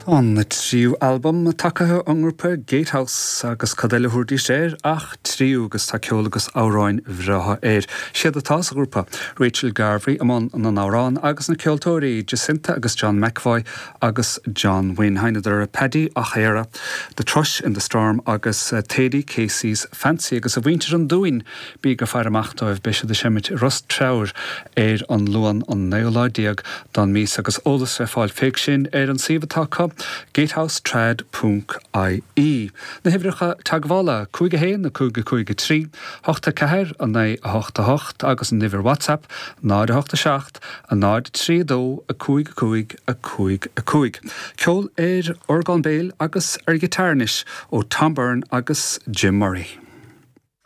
Tá an tríú albam tagtha ón ngrúpa Gatehouse agus cad eile a thabharfaidís air ach tríú agus tá ceol agus amhráin bhreátha air. Siad atá sa ghrúpa, Rachel Garvey i mbun na n-amhrán agus na ceoltóirí Jacinta agus John McEvoy agus John Wynne. Sheinneadar Paddy O'Hara, The Thrush in the Storm agus Thady Casey's Fancy agus a mhuintir an Dúin Bíg ag faire amach dóibh, beidh siad ag seimint i Ros Treabhair ar an Luan an naoú lá déag don mhí agus eolas le fáil fé sin ar an suíomh atá acu, gatehousetrad ponc ie. Na huimhreacha teagmhála, 5 1 5 5 3 8 4 9 8 8 agus an uimhir WhatsApp, 0 8 7 0 3 2 5 5 5 5. Ceol ar orgán béil agus ar ghiotár anois ó Tom Byrne agus Jim Murray.